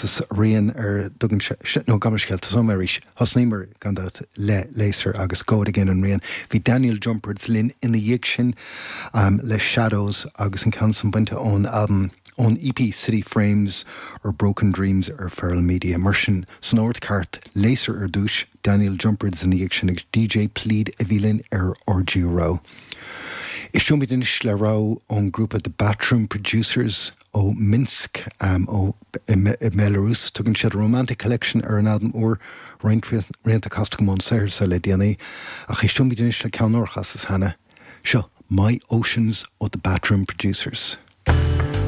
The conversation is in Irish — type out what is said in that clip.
chasas rian ar dtugann sé, nó gabh mo leithscéal, tosóidh mé arís, thosnaíomar, gan dabht, le Laser agus Go It Again an rian. Bhí Daniel Jumpertz linn ina dhiaidh sin le Shadows agus an ceann san bainte ón albam, ón EP City Frames or Broken Dreams ar Feral Media. Mar sin, san ord ceart, Laser ar dtúis, Daniel Jumpertz ina dhiaidh sin agus DJ Plead a bhí linn ar RG Rogha. Éisteoimid anois le rogha ón ngrúpa The Batroom Producers ó Minsk ó i mBelarus. Tugann siad Romantic Collection ar an albam úr, roinnt rianta casta agam ón saothar seo le déanaí, ach éisteoimid anois le ceann nár chasas cheana. Seo My Oceans ó The Batroom Producers.